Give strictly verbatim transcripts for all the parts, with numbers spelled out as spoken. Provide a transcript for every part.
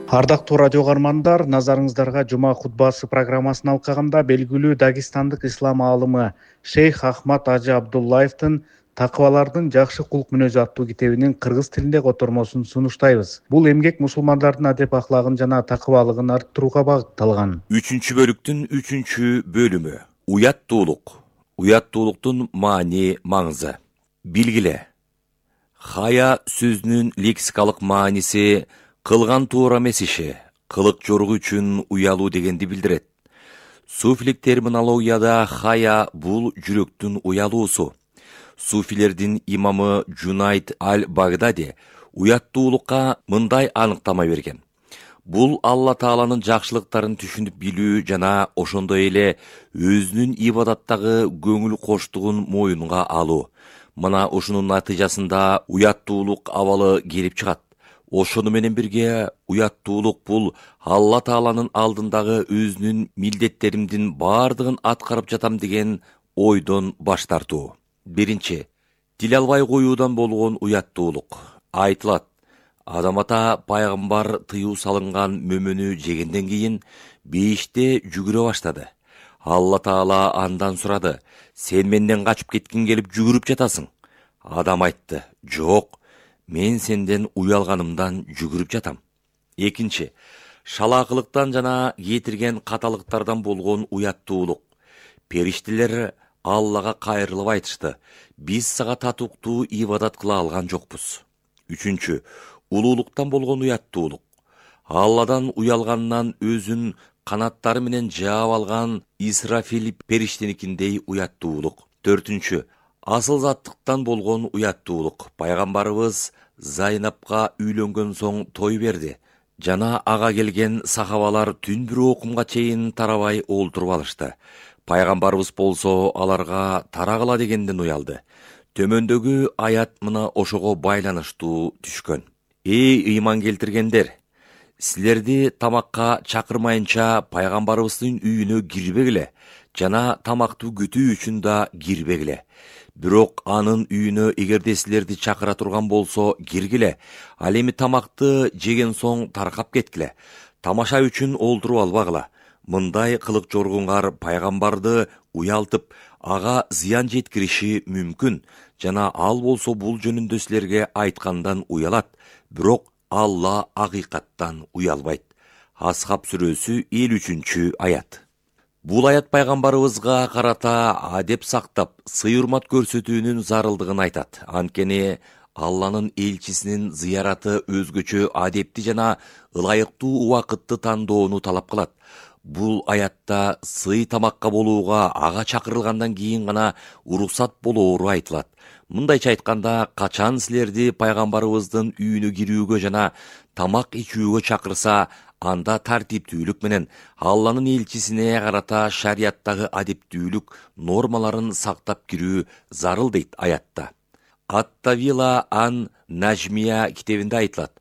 Ардактуу радио каармандар, назарыңыздарга жума хутбасы программасын алкаганда белгилүү дагестандык ислам аалымы Шейх Ахмад Ажы Абдуллаевдин «Такыбалардын жакшы кулк мүнөзү» аттуу китебинин кыргыз тилинде котормосун сунуштайбыз. Бул эмгек мусулмандардын адеп ахлагын жана такыбалыгын арттырууга багытталган. Үчүнчү бөлүктүн үчүнчү бөлүмү. Уяттуулук. Уяттуулуктун маани, маңызы. Билгиле. Хая сөзүнүн лексикалык мааниси кылган туура эмес иши, кылык жоругу үчүн уялуу дегенди билдирет. Суфилик терминологияда хая бул жүрөктүн уялуусу. Суфилердин имамы Джунайд аль-Багдади уяттуулукка мындай аныктама берген. Бул Алла Тааланын жакшылыктарын түшүнүп билүү жана ошондой эле өзүнүн ибадаттагы көңүл коштугун моюнга алуу. Мына ушунун натыйжасында уяттуулук абалы келип чыгат. Ошону менен бирге уяттуулук бул Алла Тааланын алдындагы өзүнүн милдеттеримдин бардыгын аткарып жатам деген ойдон баш тартуу. Биринчи, тил албай коюудан болгон уяттуулук. Айтылат, Адам ата пайгамбар тыюу салынган мөмөнү жегенден кийин бейиште жүгүрө баштады. Алла Таала андан сурады: "Сен менден качып кеткиң келип жүгүрүп жатасың?" Адам айтты: "Жок, мен сенден уялганымдан жүгүрүп жатам." Экинчи, шалаакылыктан жана кетирген каталыктардан болгон уяттуулук. Периштелер Аллага кайрылып айтышты: "Биз сага татыктуу ибадат кыла алган жокпуз." Үчүнчү, улуулуктан болгон уяттуулук. Алладан уялганынан өзүн канаттары менен жаап алган Исрафил периштеникиндей уяттуулук. Төртүнчү, асыл заттыктан болгон уяттуулук. Пайгамбарыбыз Зайнапка үйлөнгөн соң той берди жана ага келген сахабалар түн бир окумга чейин тарабай олтуруп алышты. Пайгамбарыбыз болсо аларга тарагыла дегенден уялды. Төмөндөгү аят мына ошого байланыштуу түшкөн. Эй ыйман келтиргендер, силерди тамакка чакырмайынча пайгамбарыбыздын үйүнө кирбегиле жана тамактуу күтүү үчүн да кирбегиле. Бирок анын үйүнө эгерде силерди чакыра турган болсо киргиле. Ал эми тамакты жеген соң таркап кеткиле. Тамаша үчүн олтуруп албагыла. Мындай кылык жоргуңар пайгамбарды уялтып, ага зыян жеткириши мүмкүн жана ал болсо бул жөнүндө силерге айткандан уялат. Бирок Алла акыйкаттан уялбайт. Асхаб сүрөсү элүү үчүнчү аят. Бул аят пайгамбарыбызга карата адеп сактап, сый-урмат көрсөтүүнүн зарылдыгын айтат. Анткени Алланын элчисинин зыяраты өзгөчө адепти жана ылайыктуу убакытты тандоону талап кылат. Бул аятта сый тамакка болууга ага чакырылгандан кийин гана уруксат болоору айтылат. Мындайча айтканда, качан силерди пайгамбарыбыздын үйүнө кирүүгө жана тамак ичүүгө чакырса, анда тартиптүүлүк менен Алланын элчисине карата шарияттагы адептүүлүк нормаларын сактап кирүү зарыл дейт аятта. Ат-Тавила ан Нажмия китебинде айтылат: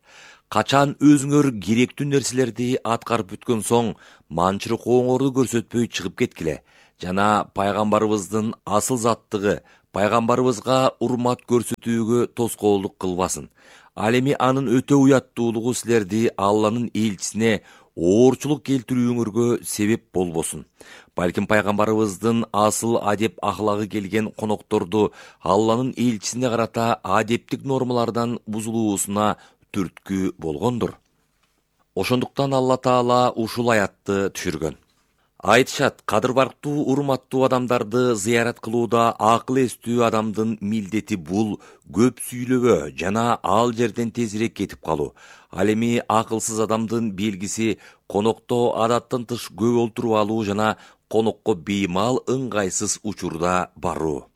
"Качан өзүңөр керектүү нерселерди аткарып бүткөн соң, манчырык-оңорду көрсөтпөй чыгып кеткиле жана пайгамбарыбыздын асыл заттыгы пайгамбарыбызга урмат көрсөтүүгө тоскоолдук кылбасын. Ал эми анын өтө уяттуулугу силерди Алланын элчисине оорчулук келтирүүңөргө себеп болбосун. Балким пайгамбарыбыздын асыл адеп ахлагы келген конокторду Алланын элчисине карата адептик нормалардан бузулуусуна түрткү болгондур." Ошондуктан Алла Таала ушул аятты түшүргөн. Айтышат, кадыр барктуу урматтуу адамдарды зыярат кылууда акыл эстүү адамдын милдети бул көп сүйлөбө жана ал жерден тезирээк кетип калуу. Ал эми акылсыз адамдын белгиси конокто адаттан тыш көп олтуруп алуу жана конокко беймал ыңгайсыз учурда баруу.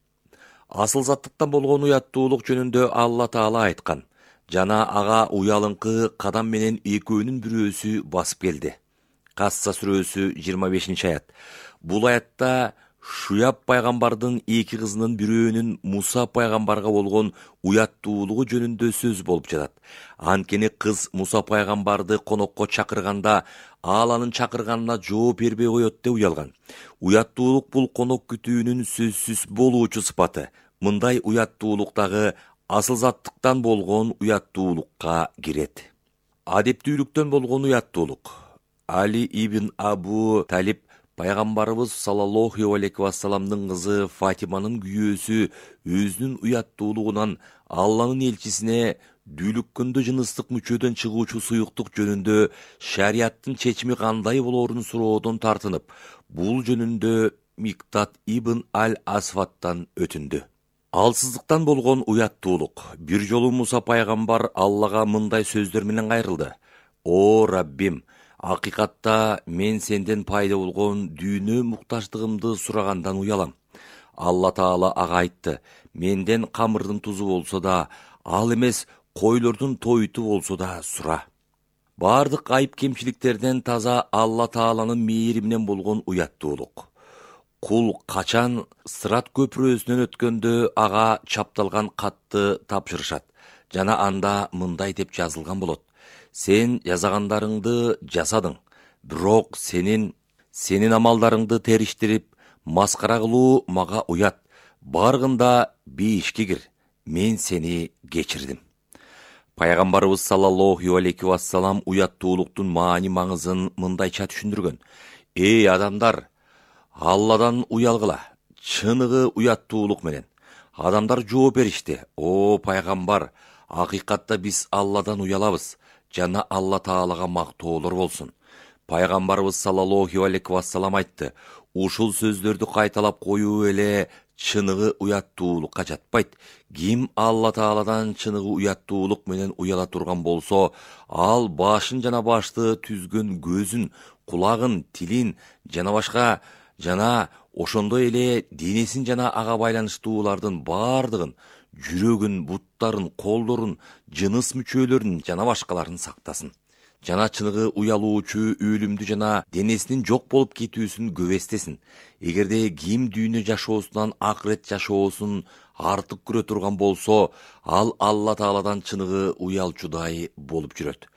Асыл заттыктан болгон уяттуулук жөнүндө Алла Таала айткан жана ага уялыңкы кадам менен экөөнүн бирөөсү басып келди. Касса сүрөсү жыйырма бешинчи аят. Бул аятта Шуяб пайгамбардын эки кызынын бирөөнүн Муса пайгамбарга болгон уяттуулугу жөнүндө сөз болуп жатат. Анткени кыз Муса пайгамбарды конокко чакырганда, ал анын чакырганына жооп бербей коет деп уялган. Уяттуулук бул конок күтүүнүн сөзсүз болуучу сыпаты. Мындай уяттуулук дагы асыл заттыктан болгон уяттуулукка кирет. Адептүүлүктөн болгон уяттуулук. Али ибн Абу Талиб пайгамбарыбыз саллаллаху алейхи вассаламдын кызы Фатиманын күйөөсү өзүнүн уяттуулугунан Алланын элчисине дүүлүккөндө жыныстык мүчөдөн чыгуучу суюктук жөнүндө шариаттын чечими кандай болоорун суроодон тартынып, бул жөнүндө Миктат ибн Аль-Асфаттан өтүндү. Алсыздыктан болгон уяттуулук. Бир жолу Муса пайгамбар Аллага мындай сөздөр менен кайрылды: «О Раббим, акыйкатта мен сенден пайда болгон дүйнө муктаждыгымды сурагандан уялам». Алла Таала ага айтты: «Менден камырдын тузу болсо да, ал эмес койлордун тойту болсо да сура». Бардык айып кемчиликтерден таза Алла Тааланын мээри менен болгон уяттуулук. Кул качан Сырат көпүрөсүнөн өткөндө ага чапталган катты тапшырышат жана анда мындай деп жазылган болот: «Сен жасагандарыңды жасадың, бирок сенин сенин амалдарыңды териштирип, маскара кылуу мага уят. Баргында бейишке кир, мен сени кечирдим». Пайгамбарыбыз саллаллаху алейхи вассалам уяттуулуктун маани маңызын мындайча түшүндүргөн: «Эй адамдар, Алладан уялгыла, чыныгы уяттуулук менен». Адамдар жооп беришти: «О пайгамбар, акыйкатта биз Алладан уялабыз, жана Алла Таалага мактоолор болсун». Пайгамбарыбыз саллаллаху алейхи вассалам айтты: «Ушул сөздөрдү кайталап коюу эле чыныгы уяттуулукка жатпайт. Ким Алла Тааладан чыныгы уяттуулук менен уяла турган болсо, ал башын жана башты түзгөн көзүн, кулагын, тилин жана башка жана ошондой эле денесин жана ага байланыштуулардын бардыгын, жүрөгүн, буттарын, колдорун, жыныс мүчөлөрүн жана башкаларын сактасын. Жана чыныгы уялуучу өлүмдү жана денесинин жок болуп кетүүсүн көбестесин. Эгерде ким дүйнө жашоосунан акырет жашоосун артык көрө турган болсо, ал Алла Тааладан чыныгы уялчудай болуп жүрөт».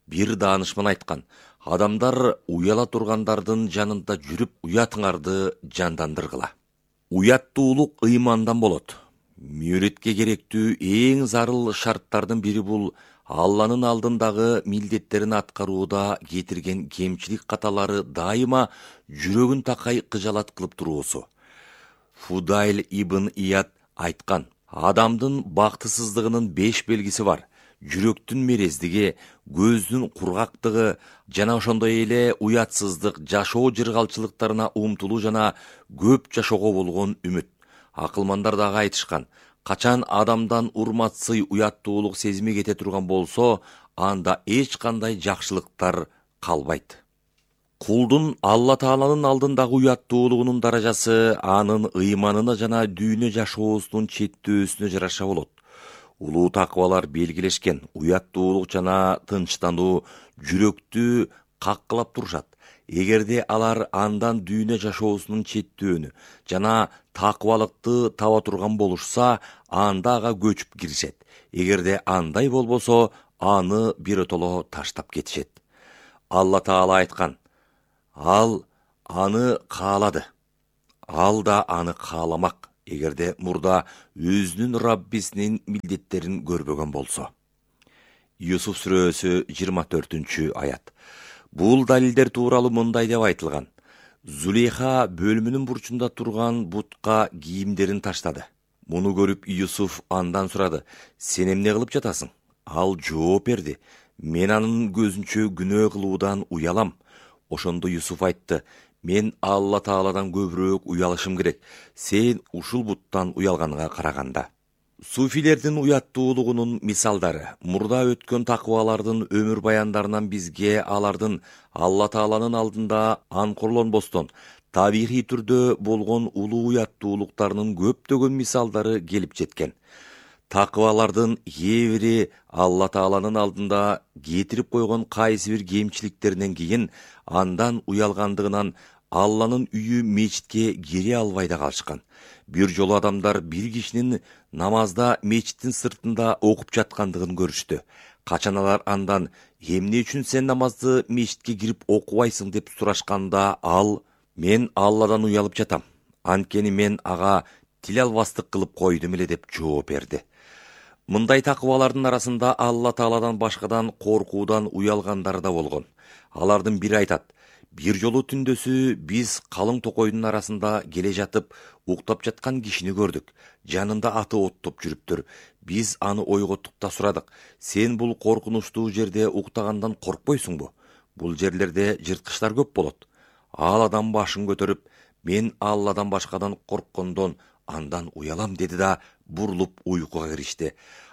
Бир даанышман айткан: «Адамдар уяла тургандардын жанында жүрүп, уятыңарды жандандыргыла». Уяттуулук ыймандан болот. Мүрөткө керектүү эң зарыл шарттардын бири бул Алланын алдындагы милдеттерин аткарууда кетирген кемчилик каталары дайыма жүрөгүн такай кыжалат кылып туруусу. Фудайль ибн Ияд айткан: «Адамдын бактысыздыгынын беш белгиси бар: жүрөктүн мерездиги, көздүн кургактыгы жана ошондой эле уятсыздык, жашоо жыргалчылыктарына умтулуу жана көп жашоого болгон үмүт». Акылмандар дагы айтышкан: «Качан адамдан урматсый уяттуулук сезими кете турган болсо, анда эч кандай жакшылыктар калбайт». Кулдун Алла Тааланын алдындагы уяттуулугунун даражасы анын ыйманына жана дүйнө жашоосунун четтөөсүнө жараша болот. Улуу такыбалар белгилешкен: уяттуулук жана тынчтануу жүрөктү каккылап турушат. Эгерде алар андан дүйнө жашоосунун четтөөнү жана такыбалыкты таба турган болушса, анда ага көчүп киришет. Эгерде андай болбосо, аны биротоло таштап кетишет. Алла Таала айткан: «Ал аны каалады, ал да аны кааламак, эгерде мурда өзүнүн Раббисинин милдеттерин көрбөгөн болсо». Юсуф сүрөсү жыйырма төртүнчү аят. Бул далилдер тууралуу мындай деп айтылган: Зулейха бөлмөнүн бурчунда турган бутка кийимдерин таштады. Муну көрүп Юсуф андан сурады: «Сен эмне кылып жатасың?» Ал жооп берди: «Мен анын көзүнчө күнөө кылуудан уялам». Ошондо Юсуф айтты: «Мен Алла Тааладан көбүрөөк уялышым керек, сен ушул буттан уялганга караганда». Суфилердин уяттуулугунун мисалдары. Мурда өткөн такыбалардын өмүр баяндарынан бизге алардын Алла Тааланын алдында анкорлонбостон табигый түрдө болгон улуу уяттуулуктарынын көптөгөн мисалдары келип жеткен. Такыбалардын кээ бири Алла Тааланын алдында кетирип койгон кайсы бир кемчиликтеринен кийин андан уялгандыгынан Алланын үйү мечитке кире албай да калышкан. Бир жолу адамдар бир кишинин намазда мечиттин сыртында окуп жаткандыгын көрүштү. Качан алар андан: «Эмне үчүн сен намазды мечитке кирип окубайсың?» деп сурашканда, ал: «Мен Алладан уялып жатам. Анткени мен ага тил албастык кылып койдум эле» деп жооп берди. Мындай такыбалардын арасында Алла Тааладан башкадан коркуудан уялгандар да болгон. Алардын бири айтат: бир жолу түндөсү биз калың токойдун арасында келе жатып, уктап жаткан кишини көрдүк. Жанында аты оттоп жүрүптүр. Биз аны ойготтук да сурадык: сен бул коркунучтуу жерде уктагандан коркпойсуңбу? Бул жерлерде жырткычтар көп болот. Ал адам башын көтөрүп: мен Алладан башкадан корккондон андан уялам деди да бурулуп уйкуга киришти.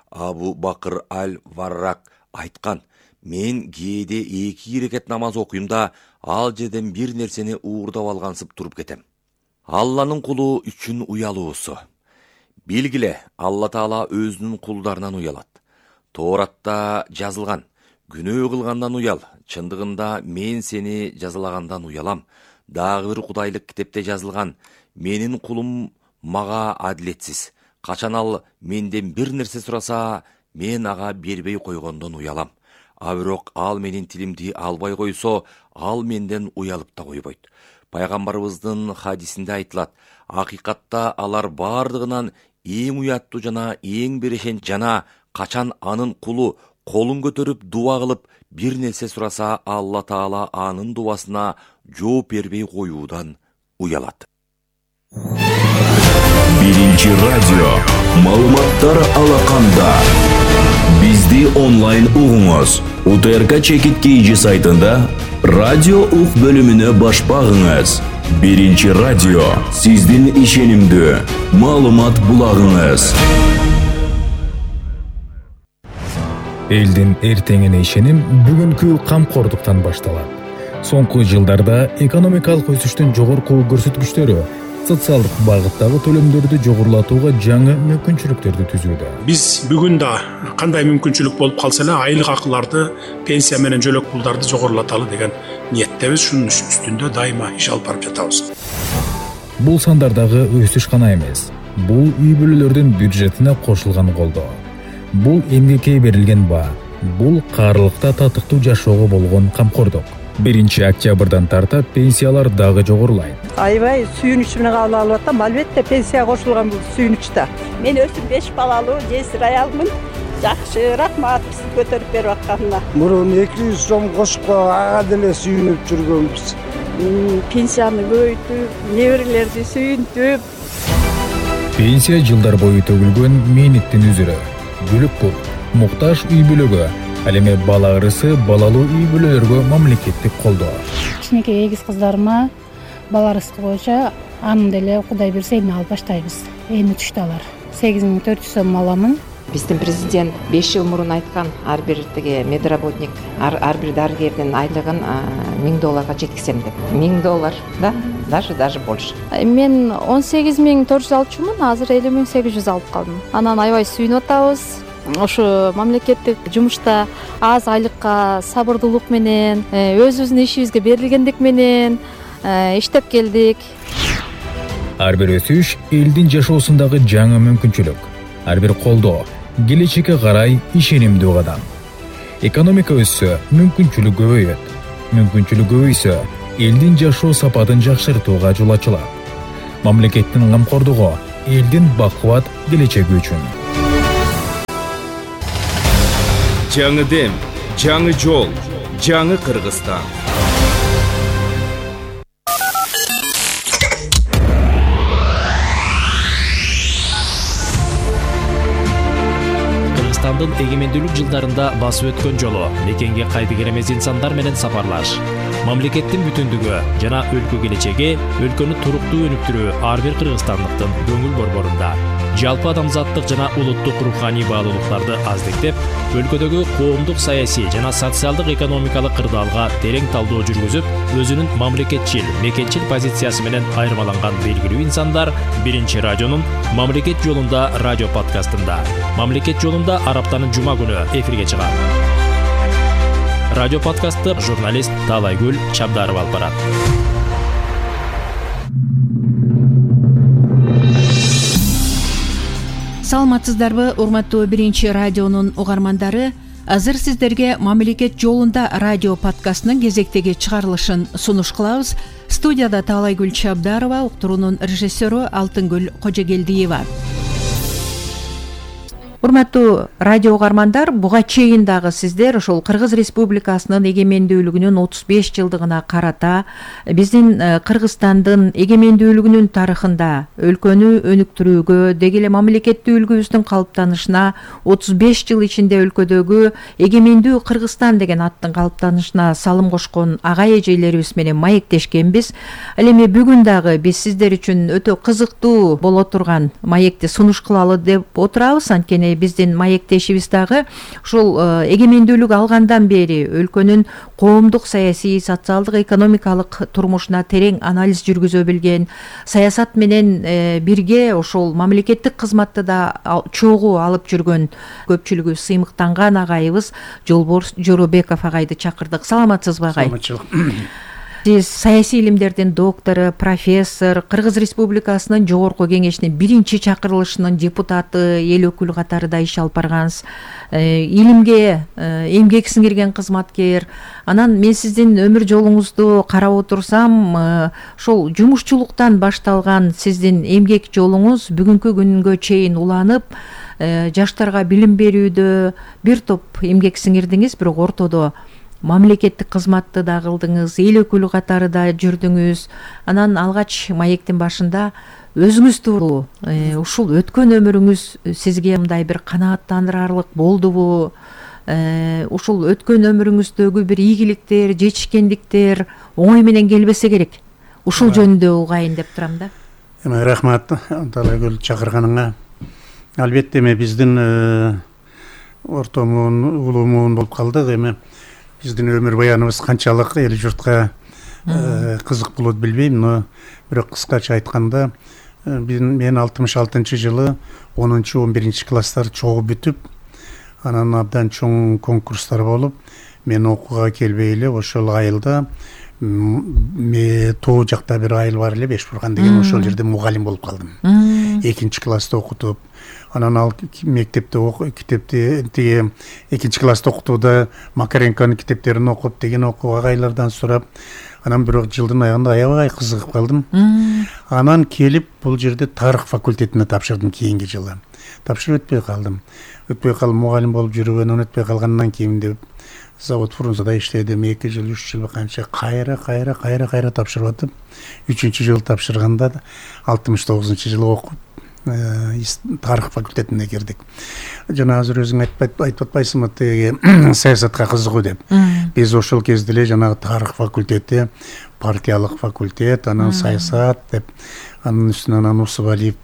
Абу Бакыр аль-Варрак айткан: мен кээде эки ирекет намаз окуйм да ал жерден бир нерсени уурдап алгансып туруп кетем. Алланын кулу үчүн уялуусу. Билгиле, Алла Таала өзүнүн кулдарынан уялат. Тооратта жазылган: күнөө кылгандан уял, чындыгында мен сени жазалагандан уялам. Дагы бир кудайлык китепте жазылган: менин кулум мага адилетсиз. Качан ал менден бир нерсе сураса, мен ага бербей койгондон уялам. А бирок ал менин тилимди албай койсо, ал менден уялып да койбойт. Пайгамбарыбыздын хадисинде айтылат: акыйкатта алар бардыгынан эң уяттуу жана эң берешен жана качан анын кулу колун көтөрүп дуа кылып бир нерсе сураса, Алла Таала анын дубасына жооп бербей коюудан уялат. Биринчи радио маалыматтар алаканда. Бизди онлайн угуңуз. У Т Р К Чекит Кийжи сайтында радио ук бөлүмүнө баш багыңыз. Биринчи радио сиздин ишенимдүү маалымат булагыңыз. Элдин эртеңине ишеним бүгүнкү камкордуктан башталат. Соңку жылдарда экономикалык өсүштүн жогорку көрсөткүчтөрү социалдык багыттагы төлөмдөрдү жогорулатууга жаңы мүмкүнчүлүктөрдү түзүүдө. Биз бүгүн да кандай мүмкүнчүлүк болуп калса эле айлык акыларды, пенсия менен жөлөк пулдарды жогорулаталы деген ниеттебиз. Шунун үстүндө дайыма иш алып барып жатабыз. Бул сандардагы өсүш гана эмес, бул үй бүлөлөрдүн бюджетине кошулган колдоо. Бул эмгекке берилген баа, бул каарылыкта татыктуу жашоого болгон камкордук. биринчи октябрдан тарта пенсиялар дагы жогорулайт. Аябай сүйүнүч менен кабыл алып атам. Албетте пенсия кошулган бул сүйүнүчтө. Мен өзүм беш балалуу жесир аялмын. Жакшы, рахмат бизди көтөрүп берип атканына. Мурун эки жүз сом кошупко ага деле сүйүнүп жүргөнбүз. Пенсияны көбөйтүп, неберелерди сүйүнтүп. Пенсия жылдар бою төгүлгөн мээнеттин үзүрү. Бүлүк бул муктаж үй бүлөгө, ал эми бала ырысы балалуу үй бүлөлөргө мамлекеттик колдоо. Кичинекей эгиз кыздарыма бала ырыскы боюнча анын деле Кудай берсе эми алып баштайбыз. Эми түштү алар. сегиз миң төрт жүз сом аламын. Биздин президент беш жыл мурун айткан, ар бир тиги медработник, ар, ар бир дарыгердин айлыгын миң долларга жеткизем деп. миң доллар, да? Даже даже больше. Мен он сегиз миң төрт жүз алчумун, азыр элүү миң сегиз жүз алып калдым. Анан аябай сүйүнүп атабыз. Ошо мамлекеттик жумушта аз айлыкка сабырдуулук менен, өзүбүздүн ишибизге берилгендик менен иштеп келдик. Ар бир өсүш элдин жашоосундагы жаңы мүмкүнчүлүк. Ар бир колдоо келечекке карай ишенимдүү кадам. Экономика өссө, мүмкүнчүлүк көбөйөт. Мүмкүнчүлүк көбөйсө, элдин жашоо сапатын жакшыртууга жол ачылат. Мамлекеттин камкордугу элдин бакубат келечеги үчүн. Жаңы дем, жаңы жол, жаңы Кыргызстан. Кыргызстандын эгемендүүлүк жылдарында басып өткөн жолу, мекенге кайтып эмес инсандар менен сапарлаш, мамлекеттин бүтүндүгү жана өлкө келечеги, өлкөнү туруктуу өнүктүрүү ар бир кыргызстандыктын көңүл борборунда. Жалпы адамзаттык жана улуттук руханий баалуулуктарды аздиктеп, өлкөдөгү коомдук саясий жана социалдык экономикалык кырдаалга терең талдоо жүргүзүп, өзүнүн мамлекетчил, мекенчил позициясы менен айырмаланган белгилүү инсандар биринчи радионун Мамлекет жолунда радио подкастында. Мамлекет жолунда араптанын жума күнү эфирге чыгат. Радио подкастты журналист Таалайгүл Чабдарова алып барат. Саламатсыздарбы, урматтуу биринчи радионун угармандары? Азыр сиздерге Мамлекет жолунда радио подкастынын кезектеги чыгарылышын сунуш кылабыз. Студияда Таалайгүл Чабдарова, уктуруунун режиссеру Алтынгүл Кожогелдиева. урматтуу радио угармандар, буга чейин дагы сиздер ошол Кыргыз Республикасынын эгемендүүлүгүнүн отуз беш жылдыгына карата биздин Кыргызстандын эгемендүүлүгүнүн тарыхында өлкөнү өнүктүрүүгө, деги эле мамлекеттик үлгүбүздүн калыптанышына, отуз беш жыл ичинде өлкөдөгү эгемендүү Кыргызстан деген аттын калыптанышына салым кошкон ага эжелерибиз менен маектешкенбиз. Ал эми бүгүн дагы биз сиздер үчүн өтө кызыктуу боло турган маекти сунуш кылалы деп отурабыз. Анткени биздин маектешибиз дагы ушул эгемендүүлүк алгандан бери өлкөнүн коомдук, саясий, социалдык, экономикалык турмушуна терең анализ жүргүзө билген, саясат менен бирге ошол мамлекеттик кызматты да чогуу алып жүргөн көпчүлүгү сыймыктанган агайыбыз Жолборс Жоробеков агайды чакырдык. Саламатсызбы агай? Саламатчылык. Сиз саясий илимдердин доктору, профессор, Кыргыз Республикасынын жогорку кеңешинин биринчи чакырылышынын депутаты, эл өкүлү катарында иш алып баргансыз. Илимге эмгек сиңирген кызматкер. Анан мен сиздин өмүр жолуңузду карап отурсам, ошол жумушчулуктан башталган сиздин эмгек жолуңуз бүгүнкү күнгө чейин уланып, жаштарга билим берүүдө бир топ эмгек сиңирдиңиз, бирок ортодо мамлекеттик кызматты да кылдыңыз, эл өкүлү катарында жүрдүңүз. Анан алгач маектин башында өзүңүз тууралуу ушул өткөн өмүрүңүз сизге мындай бир канааттандырарлык болдубу? Ушул өткөн өмүрүңүздөгү бир ийгиликтер, жетишкендиктер оңой менен келбесе керек. Ушул жөнүндө угайын деп турам да. Эме рахмат Талайгүл чакырганыңа. Албетте эми биздин ортомун, улуумун болуп калдык. Эми биздин өмүр баяныбыз канчалык эл журтка кызык болот билбейм, но бирок кыскача айтканда, мен алтымыш алтынчы жылы онунчу он биринчи класстар чогуу бүтүп, анан абдан чоң конкурстар болуп, мен окууга келбей эле ошол айылда тоо жакта бир айыл бар эле, Бешбурган деген, ошол жерде мугалим болуп калдым. Экинчи класста окутуп, анан ал мектепте китепти тиги экинчи класста окутууда Макаренконун китептерин окуп, деген окуп, агайлардан сурап, анан бирок жылдын аягында аябай кызыгып калдым. Анан келип бул жерде тарых факультетине тапшырдым кийинки жылы. Тапшырып өтпөй калдым. Өтпөй калып мугалим болуп жүрүп, анан өтпөй калгандан кийин деп завод Фрунзада иштедим. эки жыл, үч жыл канча кайра кайра кайра кайра тапшырып атып, үчүнчү жыл тапшырганда алтымыш тогузунчу жылы окуп тарых факультетине кирдик. Жана азыр өзүң айтып атпайсыңбы тиги саясатка кызыгуу деп. Биз ошол кезде эле жанагы тарых факультети, партиялык факультет, анан саясат деп, анын үстүнө анан Усубалиев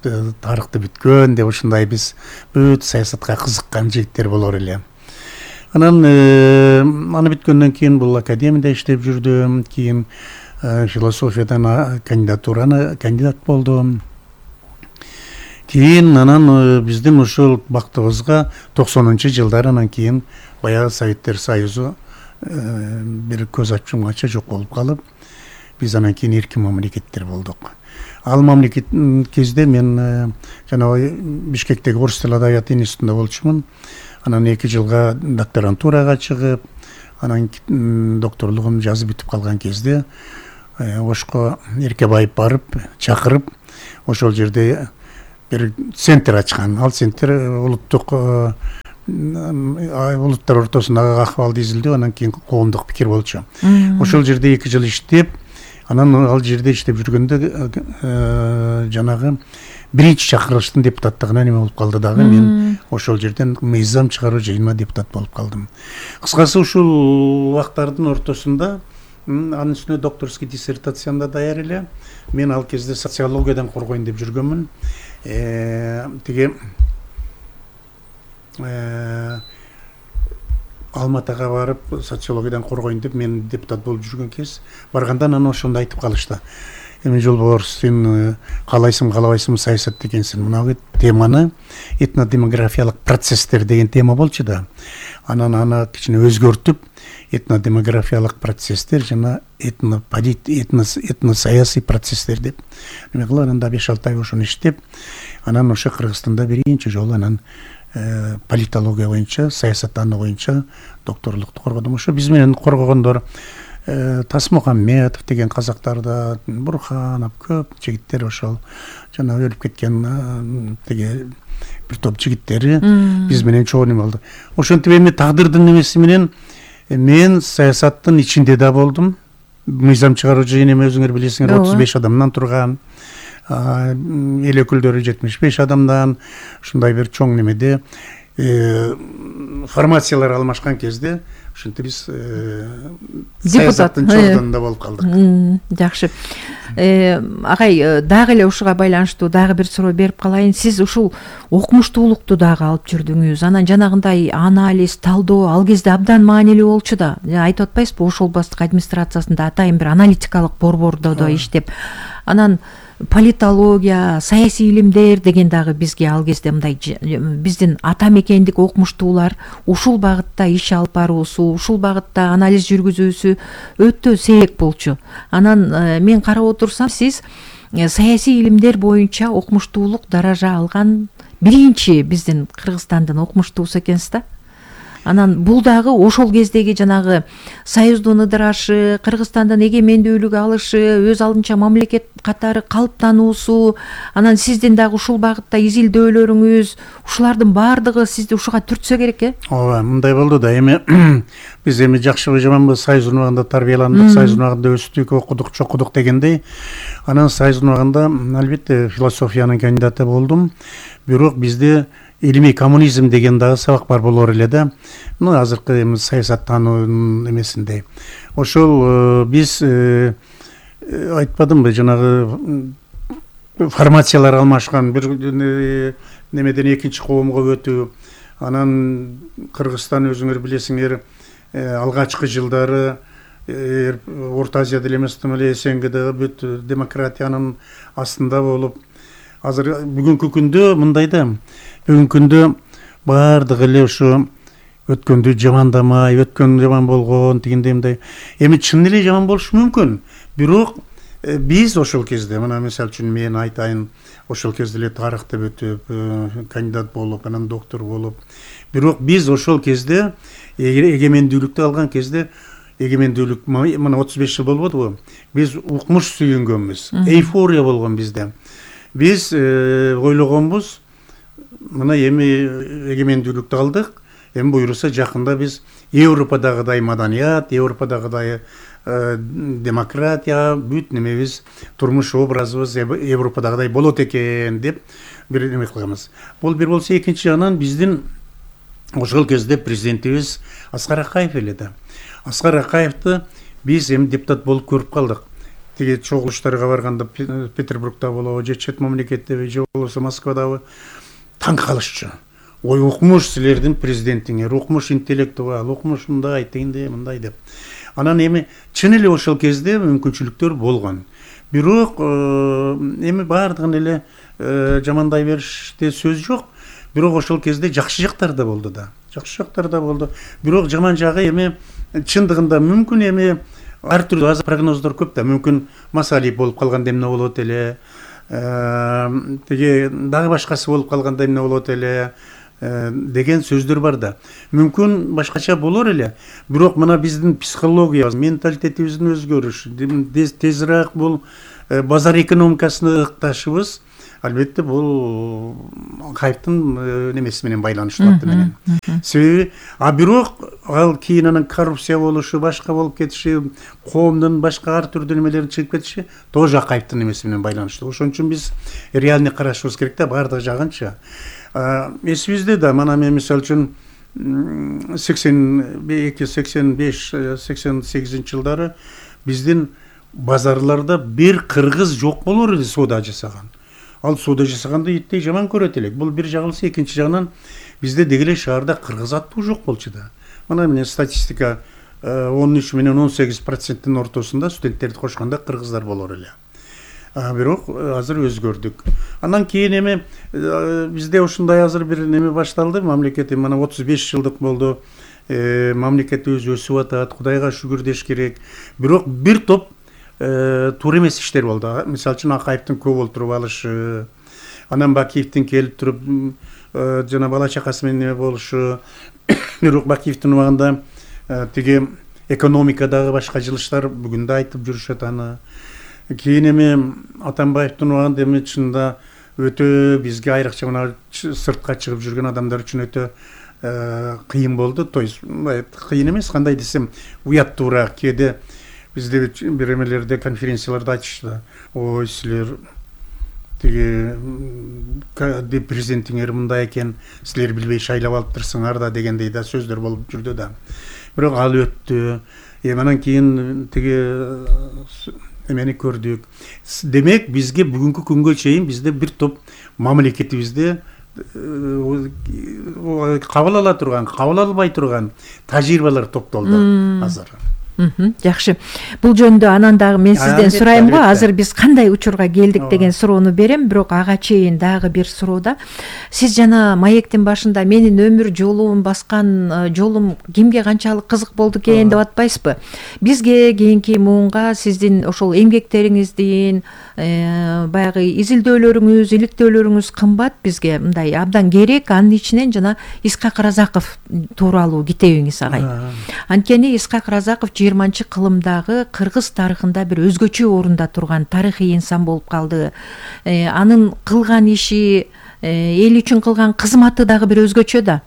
тарыхты бүткөн деп, ушундай биз бүт саясатка кызыккан жигиттер болор эле. Анан аны бүткөндөн кийин бул академияда иштеп жүрдүм, кийин философиядан кандидатураны кандидат болдум. Кийин анан биздин ушул бактыбызга токсонунчу жылдары анан кийин баягы Советтер Союзу бир көз ачымганча жок болуп калып, биз анан кийин эркин мамлекеттер болдук. Ал мамлекет кезде мен жанагы Бишкектеги Орус тили адабияты институтунда болчумун. Анан эки жылга докторантурага чыгып, анан докторлугун жазып бүтүп калган кезде Ошко Эркебаев барып, чакырып, ошол жерде бир центр ачкан. Ал центр улуттук улуттар ортосундагы акыбалды изилдөө, анан кийин коомдук пикир болчу. Ошол жерде эки жыл иштеп, анан ал жерде иштеп жүргөндө жанагы биринчи чакырылыштын депутаттыгына неме болуп калды дагы. Мен ошол жерден мыйзам чыгаруу жыйынына депутат болуп калдым. Кыскасы ушул убактардын ортосунда анын үстүнө докторский диссертациямды даяр эле. Мен ал кезде социологиядан коргойн деп жүргөнмүн. Тиги Алматыга барып социологиядан коргойн деп мен депутат болуп жүргөн кез барганда анан ошондо айтып калышты. Эми Жолборс, сен каалайсың, каалабайсың саясат экенсиң. Мына теманы этнодемографиялык процесстер деген тема болчу да. Анан аны кичине өзгөртүп, этнодемографиялык процесстер жана этнополит, этносаясий процесстер деп. Эме кылып анан да беш алты ай ошону иштеп, анан ошо Кыргызстанда биринчи жолу анан политология боюнча, саясаттануу боюнча докторлукту коргодум. Ошо биз менен коргогондор Тасмухамметов деген казактарда, Бурханов, көп жигиттер ошол жана өлүп кеткен тиги бир топ жигиттери биз менен чогуу неме болду. Ошентип эми тагдырдын немеси менен мен саясаттын ичинде да болдум. Мыйзам чыгаруучу неме өзүңөр билесиңер, отуз беш адамдан турган, эл өкүлдөрү жетимиш беш адамдан, ушундай бир чоң немеде формациялар алмашкан кезде ошентип биз саясаттын чордонунда болуп калдык. Жакшы. Агай, дагы эле ушуга байланыштуу дагы бир суроо берип калайын. Сиз ушул окумуштуулукту дагы алып жүрдүңүз. Анан жанагындай анализ, талдоо ал кезде абдан маанилүү болчу да. Айтып атпайсызбы, ошол областтык администрациясында атайын бир аналитикалык борбордо да иштеп. Анан политология, саясий илимдер деген дагы бизге ал кезде мындай биздин ата мекендик окумуштуулар ушул багытта иш алып баруусу, ушул багытта анализ жүргүзүүсү өтө сейрек болчу. Анан мен карап отурсам, сиз саясий илимдер боюнча окумуштуулук даража алган биринчи биздин Кыргызстандын окумуштуусу экенсиз да. Анан бул дагы ошол кездеги жанагы союздун ыдырашы, Кыргызстандын эгемендүүлүк алышы, өз алдынча мамлекет катары калыптануусу, анан сиздин дагы ушул багытта изилдөөлөрүңүз, ушулардын баардыгы сизди ушуга түртсө керек, э? Ооба, мындай болду да. Эми биз эми жакшыбы жаманбы союздун убагында тарбияландык, союздун убагында өстүк, окудук, чокудук дегендей. Анан союздун убагында албетте философиянын кандидаты болдум. Бирок бизде илимий коммунизм деген дагы сабак бар болор эле да. Ну, азыркы эми саясаттануунун эмесинде. Ошол биз айтпадымбы, жанагы формациялар алмашкан, бир немеден экинчи коомго өтүү. Анан Кыргызстан өзүңөр билесиңер, алгачкы жылдары Орто Азияда эмес, эле СНГдагы бүт демократиянын астында болуп, азыр бүгүнкү күндө мындай да. Бүгүнкү күндө баардыгы эле ушу өткөндү жамандамай, өткөн жаман болгон дегендей мындай. Эми чын эле жаман болушу мүмкүн. Бирок биз ошол кезде, мына мисалы үчүн мен айтайын, ошол кезде эле тарыхты бүтүп, кандидат болуп, анан доктор болуп. Бирок биз ошол кезде эгемендүүлүктү алган кезде, эгемендүүлүк мына отуз беш жыл болбодубу? Биз укмуш сүйүнгөнбүз. Эйфория болгон бизде. Биз ойлогонбуз, мына эми эгемендүүлүктү алдык. Эми буюрса жакында биз Европадагыдай маданият, Европадагыдай демократия, бүт немебиз, турмуш образыбыз Европадагыдай болот экен деп бир неме кылганбыз. Бул бир болсо, экинчи жагынан биздин ошол кезде президентибиз Аскар Акаев эле да. Аскар Акаевди биз эми депутат болуп көрүп калдык. Тиги чогулуштарга барганда, Петербургда болобу, же чет мамлекеттеби, же болбосо Москвадабы, таң калышчу. Ой, укмуш силердин президентиңер, укмуш интеллектуал, укмуш мындай, тегиндей, мындай деп. Анан эми чын эле ошол кезде мүмкүнчүлүктөр болгон. Бирок эми баардыгын эле жамандай бериште сөз жок. Бирок ошол кезде жакшы жактар да болду да. Жакшы жактар да болду. Бирок жаман жагы эми чындыгында мүмкүн эми ар түрдүү азыр прогноздор көп да. Мүмкүн Масалиев болуп калганда эмне болот эле, теге дагы башкасы болуп калганда эмне болот эле деген сөздөр бар да. Мүмкүн башкача болор эле. Бирок мына биздин психологиябыз, менталитетибиздин өзгөрүшү, тезирээк бул базар экономикасына ыкташыбыз, албетте бул Акаевдин немеси менен байланыштуу аты менен. Себеби, а бирок ал кийин анан коррупция болушу, башка болуп кетиши, коомдун башка ар түрдүү немелерин чыгып кетиши тоже Акаевдин немеси менен байланыштуу. Ошон үчүн биз реальный карашыбыз керек да, баардык жагынча. Эсибизде да, мана мен мисалы үчүн сексен эки, сексен беш, сексен сегизинчи жылдары биздин базарларда бир кыргыз жок болор эле соода жасаган. Ал соода жасаганды иттей жаман көрөт элек. Бул бир жагылса, экинчи жагынан бизде дегеле шаарда кыргыз аттуу жок болчу да. Мына мен статистика он үч менен он сегиз проценттин ортосунда студенттерди кошкондо кыргыздар болор эле. Бирок азыр өзгөрдүк. Андан кийин эми бизде ушундай азыр бир неме башталды. Мамлекет мына отуз беш жылдык болду. Мамлекетибиз өсүп атат, Кудайга шүгүр деш керек. Бирок бир топ туура эмес иштер болду. Мисалы үчүн Акаевдин көп олтуруп алышы, анан Бакиевдин келип туруп жана бала чакасы менен неме болушу. Бирок Бакиевдин убагында тиги экономикадагы башка жылыштар бүгүн да айтып жүрүшөт аны. Кийин эми Атамбаевдин убагында эми чында өтө бизге айрыкча мына сыртка чыгып жүргөн адамдар үчүн өтө кыйын болду. То есть кыйын эмес, кандай десем, уяттуураак. Кээде бизде бир эмелерде, конференцияларда айтышты, ой силер тиги президентиңер мындай экен, силер билбей шайлап алыптырсыңар да дегендей да сөздөр болуп жүрдү да. Бирок ал өттү. Эми анан кийин тиги эмени көрдүк. Демек бизге бүгүнкү күнгө чейин бизде бир топ мамлекетибизде кабыл ала турган, кабыл албай турган тажрыйбалар топтолду азыр. Жакшы. Бул жөнүндө анан дагы мен сизден сурайм го. Азыр биз кандай учурга келдик деген суроону берем, бирок ага чейин дагы бир суроодо. Сиз жана маектин башында менин өмүр жолум баскан жолум кимге канчалык кызык болду экен деп атпайсызбы? Бизге кийинки муунга сиздин ошол эмгектериңиздин, баягы изилдөөлөрүңүз, иликтөөлөрүңүз кымбат бизге, мындай абдан керек. Анын ичинен жана Исхак Разаков тууралуу китебиңиз агай. Анткени Исхак Разаков жыйырманчы кылымдагы кыргыз тарыхында бир өзгөчө орунда турган тарыхый инсан болуп калды. Анын кылган иши, эл үчүн кылган кызматы дагы бир өзгөчө да.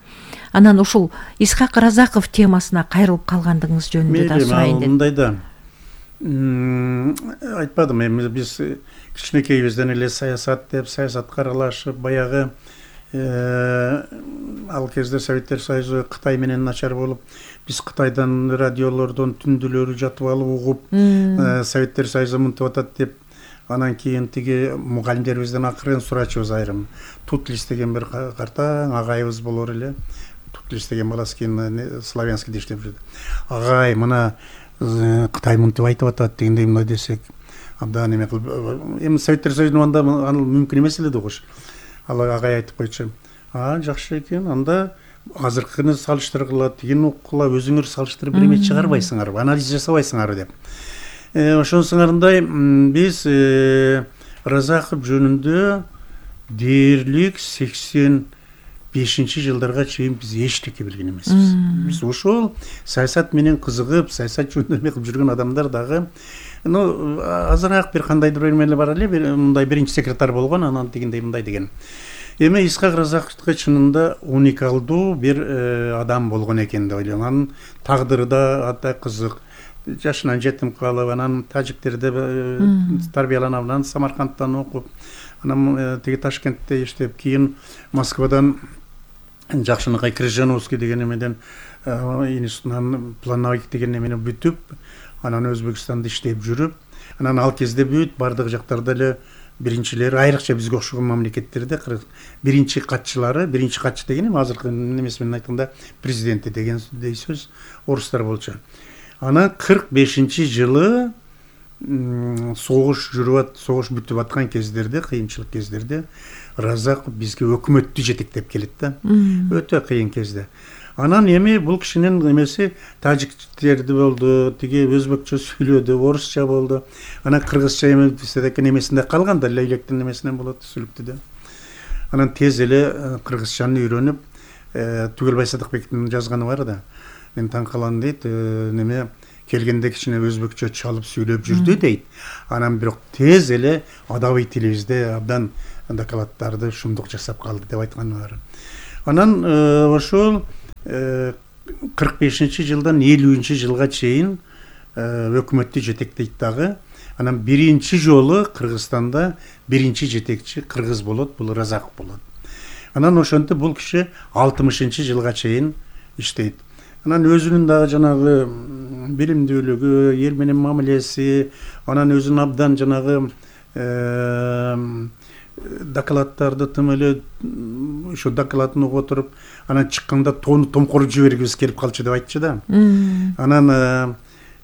Анан ушул Исхак Разаков темасына кайрылып калгандыгыңыз жөнүндө да сурайын дедим. Мындай да айтпадым, эми биз кичинекейибизден эле саясат деп, саясатка аралашып, баягы ал кезде Советтер Союзу Кытай менен начар болуп, биз Кытайдан радиолордон түндүлөрү жатып алып угуп, Советтер Союзу мынтип атат деп, анан кийин тиги мугалимдерибизден акырын сурачубуз айрым. Тутлис деген бир картаң агайыбыз болор эле. Тутлис деген баласы кийин славянскийде иштеп жүрдү. Агай, мына Кытай мынтип айтып атат дегендей мындай десек, абдан эме кылып, эми Советтер Союзунун анда аны мүмкүн эмес эле да кош. Ал агай айтып койчу. А, жакшы экен. Анда азыркыны салыштыргыла, тигин укула, өзүңөр салыштырып бир эме чыгарбайсыңарбы, анализ жасабайсыңарбы деп. Ошонусуңарындай биз Разаков жөнүндө дээрлик сексен бешинчи жылдарга чейин биз эчтеке билген эмеспиз. Биз ошол саясат менен кызыгып, саясат жөнүндө эме кылып жүргөн адамдар дагы, ну азыраак бир кандайдыр бир эмелер бар эле, мындай биринчи секретарь болгон, анан дегендей мындай деген. Эми Исхак Разаковго чынында уникалдуу бир адам болгон экен деп ойлойм. Анын тагдыры да атай кызык. Жашынан жетим калып, анан тажиктерде тарбияланып, анан Самаркандтан окуп, анан тиги Ташкентте иштеп, кийин Москвадан Жакшынакай Крыжановский деген эмеден институтунан плановик деген эмени бүтүп, анан Өзбекстанда иштеп жүрүп, анан ал кезде бүт бардык жактарда эле биринчилери, айрыкча бизге окшогон мамлекеттерде биринчи катчылары, биринчи катчы деген эми азыркы немеси менен айтканда президенти дегендей сөз орустар болчу. Анан кырк бешинчи жылы согуш жүрүп, согуш бүтүп аткан кездерде, кыйынчылык кездерде Разаков бизге өкмөттү жетектеп келет да. Өтө кыйын кезде. Анан эми бул кишинин эмеси тажиктерди болду, тиги өзбекчө сүйлөдү, орусча болду. Анан кыргызча эме биздеки немесинде калган да, лейлектин немесинен болот, сүлүктүдө. Анан тез эле кыргызчаны үйрөнүп, Түгелбай Садыкбектин жазганы бар да. Мен таң калам дейт, неме келгенде кичине өзбекчө чалып сүйлөп жүрдү дейт. Анан бирок тез эле адабий тилибизде абдан докладдарды шумдук жасап калды деп айтканы бар. Анан ошол кырк бешинчи жылдан элүүнчү жылга чейин өкмөттү жетектейт дагы. Анан биринчи жолу Кыргызстанда биринчи жетекчи кыргыз болот, бул Разаков болот. Анан ошентип бул киши алтымышынчы жылга чейин иштейт. Анан өзүнүн дагы жанагы билимдүүлүгү, эл менен мамилеси, анан өзүнүн абдан жанагы докладдарды тым эле ошо докладын угуп отуруп, анан чыкканда тоону томкоруп жибергибиз келип калчу деп айтчу да. Анан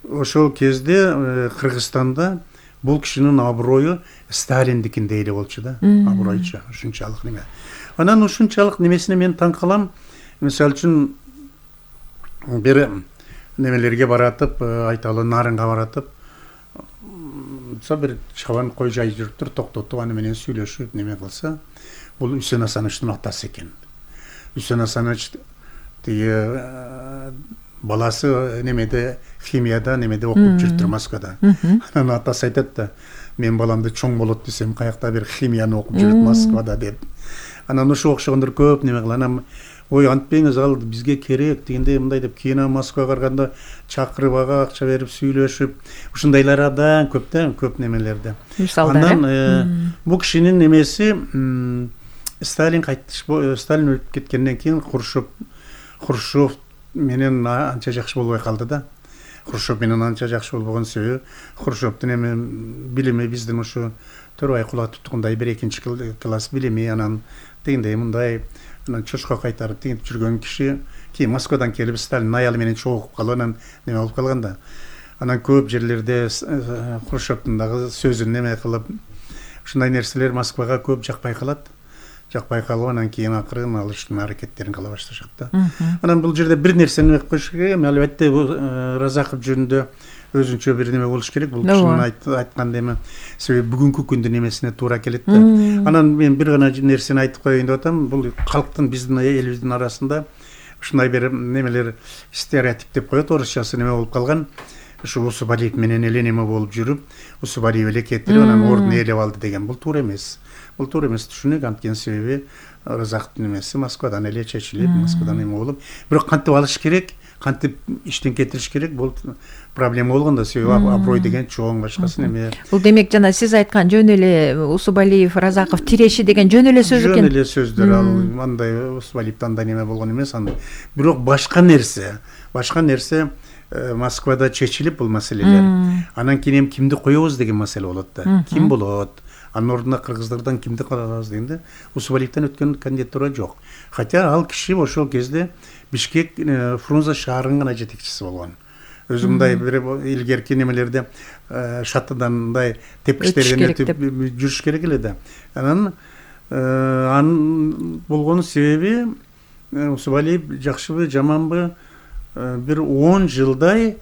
ошол кезде Кыргызстанда бул кишинин аброю Сталиндикиндей эле болчу да, абройчу, ушунчалык неме. Анан ушунчалык немесине мен таң калам. Мисалы үчүн бир немелерге баратып, айталы Нарынга баратып, со бир чабан кой жай жүрүптүр, токтотуп аны менен сүйлөшүп неме кылса, бул Үсен Асановичтин атасы экен. Үсен Асанович тиги баласы немеде химияда немеде окуп жүрүптүр Москвада. Анан атасы айтат да, мен баламды чоң болот десем каякта бир химияны окуп жүрөт Москвада деп. Анан ошо окшогондор көп неме кылган. Анан ой антпеңиз, ал бизге керек дегенде мындай деп кийин Москвага барганда чакырып ага акча берип сүйлөшүп, ушундайлар абдан көп да, көп немелерде. Андан бул кишинин немеси Сталин кайтыш, Сталин өлүп кеткенден кийин Хрущев Хрущев менен анча жакшы болбой калды да. Хрущев менен анча жакшы болбогон себеби Хрущевдун эми билими биздин ушу төрөй кулатып тургандай бир экинчи класс билими, анан дегендей мындай анан чочко кайтарып тигип жүргөн киши кийин Москвадан келип Сталин аялы менен чогулуп калып анан неме болуп калган да. Анан көп жерлерде Хрущевдун дагы сөзүн неме кылып ушундай нерселер Москвага көп жакпай калат. Жакпай калып анан кийин акырын алыштын аракеттерин кыла башташат да. Анан бул жерде бир нерсени айтып коюш керек. Албетте Разаков жөнүндө өзүнчө бир неме болуш керек. Бул кишинин айткан эми себеби бүгүнкү күндүн немесине туура келет да. Анан мен бир гана нерсени айтып коеюн деп атам. Бул калктын биздин элибиздин арасында ушундай бир немелер стереотип деп коет, орусчасы неме болуп калган. Ушу Усубалиев менен эле неме болуп жүрүп, Усубалиев эле кетирип анан ордун ээлеп алды деген. Бул туура эмес. Бул туура эмес, түшүнүк. Анткени себеби Разактын немеси Москвадан эле чечилип, Москвадан эме болуп, бирок кантип алыш керек, кантип иштен кетириш керек, бул проблема болгондо, себеби аброй деген чоң, башкасы неме. Бул демек жана сиз айткан жөн эле Усубалиев, Разаков тиреши деген жөн эле сөз экен. Жөн эле сөздөр, ал андай Усубалиевден андай неме болгон эмес, андай. Бирок башка нерсе, башка нерсе Москвада чечилип бул маселелер. Анан кийин кимди коебуз деген маселе болот да. Ким болот? Анын ордуна кыргыздардан кимди калабыз дегенде Усубалиевден өткөн кандидатура жок. Хотя ал киши ошол кезде Бишкек Фрунзе шаарынын гана жетекчиси болгон. Өзү мындай бир илгерки немелерде шаттыдан мындай тепкичтерден өтүп жүрүш керек эле да. Анан анын болгон себеби Усубалиев жакшыбы, жаманбы бир он жылдай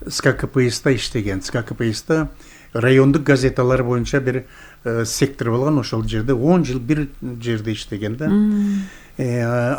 СККПСта иштеген. СККПСта райондук газеталар боюнча бир сектор болгон, ошол жерде он жыл бир жерде иштеген да.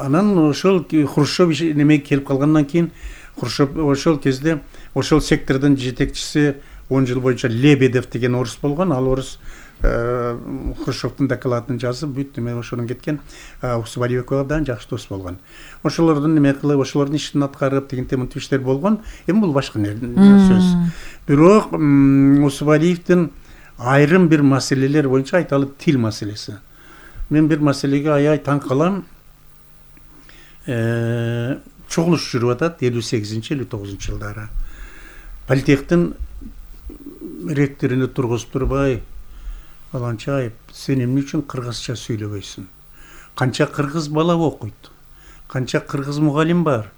Анан ошол Хрущев неме келип калгандан кийин Хрущев ошол кезде ошол сектордун жетекчиси он жыл боюнча Лебедев деген орус болгон. Ал орус Хрущевдун докладын жазып, бүт неме ошонун кеткен. Усубалиевге абдан жакшы дос болгон. Ошолордун неме кылып, ошолордун ишин аткарып, тигинтип мынтип иштер болгон. Эми бул башка сөз. Бирок Усубалиевдин айрым бир маселелер боюнча айталы, тил маселеси. Мен бир маселеге аябай таң калам. Чогулуш жүрүп атат элүү сегизинчи элүү тогузунчу жылдары. Политехтин ректоруну тургузуп турбай, баланча айып, сен эмне үчүн кыргызча сүйлөбөйсүң? Канча кыргыз бала окуйт? Канча кыргыз мугалим бар?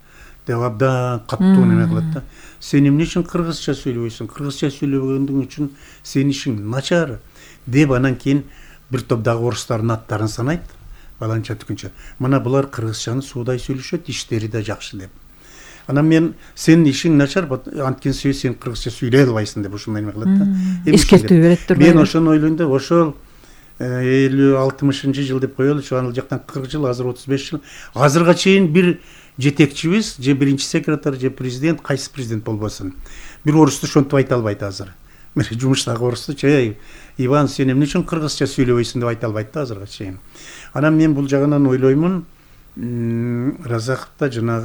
Деп абдан каттуу неме кылат да. Сен эмне үчүн кыргызча сүйлөбөйсүң? Кыргызча сүйлөбөгөндүң үчүн сенин ишиң начар. Деп анан кийин бир топ дагы орустардын аттарын санайт. Баланча түкүнчө. Мына булар кыргызчаны суудай сүйлөшөт, иштери да жакшы деп. Анан мен сенин ишиң начар, анткени сен кыргызча сүйлөй албайсың деп ушундай эме кылат да. Эскертүү берет турбайбы? Мен ошону ойлойм да, ошол элүү алтымышынчы жыл деп коелучу, ал жактан кырк жыл, азыр отуз беш жыл. Азырга чейин бир жетекчибиз, же биринчи секретарь, же президент, кайсы президент болбосун, бир орусту ошентип айта албайт азыр. Мен жумуштагы орусту чей, Иван, сен эмне үчүн кыргызча сүйлөбөйсүң деп айта албайт да азырга чейин. Анан мен бул жагынан ойлоймун, Разаковда жанагы